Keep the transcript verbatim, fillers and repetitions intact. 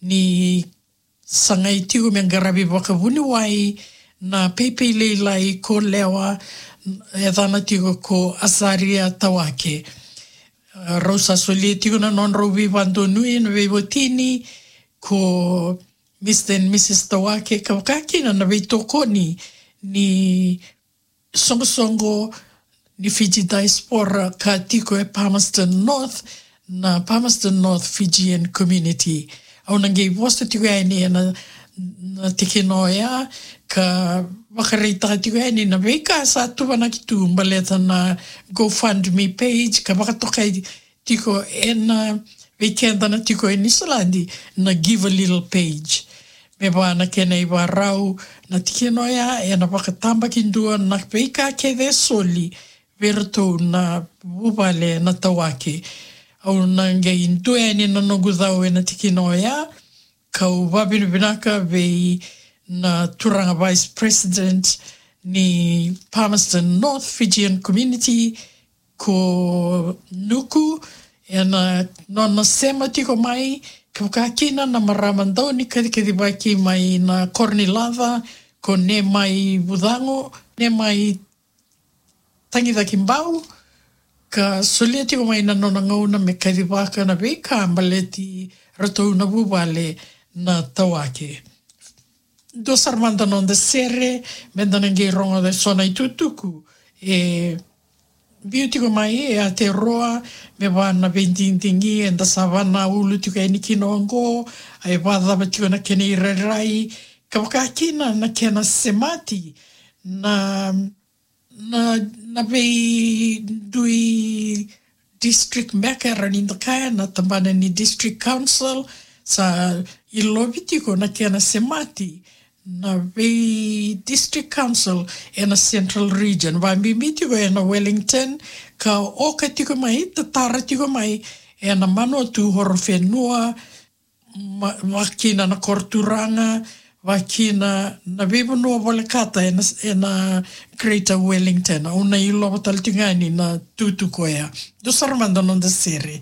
ni sagai tiko me qaravi vakavuniwai na peipei lailai ko Lewa, e yacana tiko ko Azaria Tawake. Rau sa solia tiko na nodrau veivadonui na veiwatini ko Mister and Missus Tawake, ka vaka kina na veitokoni ni soqosoqo ni Fiji diaspora ka tiko e Palmerston North, na Palmerston North Fijian Community. Au na qai vosa tiko yani ena, na tikina oya, ka vakaraitaka tiko yani na veika sa tuvanaki tu baleta na GoFundMe page, ka vakatokai tiko ena, vei keda na tiko e Niusiladi, na Givealittle page. Me vaka na kena ivakarau, na tikina oya ena vakatabakidua na veika kece e soli vei iratou na vuvale na Tawake. Au na qai dua yani na noqu cau ena tikina oya, kau vakavinavinaka vei na turaga Vice President ni Palmerston North Fijian Community, ko Nuku, ena nona sema tiko mai, ka vaka kina na marama dau ni kacikacivaki mai na koro ni laca, ko Nemai Vucago, Nemai Tagicaki Bau, ka solia tiko mai na nona gauna me kacivaka na veika baleti ratou na vuvale na Tawake. Dua sara mada noda sere, meda na qai rogoca eso na itukutuku e biu tiko mai e Aotearoa, me vaka na veidigidigi eda sa vakaulu tiko yani kina oqo, e vakacava tiko na kena irairai, ka vaka kina na kena semati na, na, na veidui district beka, era ni da kaya na tabana ni district council, sa ilovi tiko na kena semati na vei district council ena central region, vakabibi tiko ena Wellington, ka oka tiko mai, tatara tiko mai ena Manawatu, Horowhenua, ma-, vaka kina na koro turaga, vaka kina na veivanua volekata ena, ena Greater Wellington. Au na ilova tale tiko yani na itukutuku oya. Dua sara mada noda sere.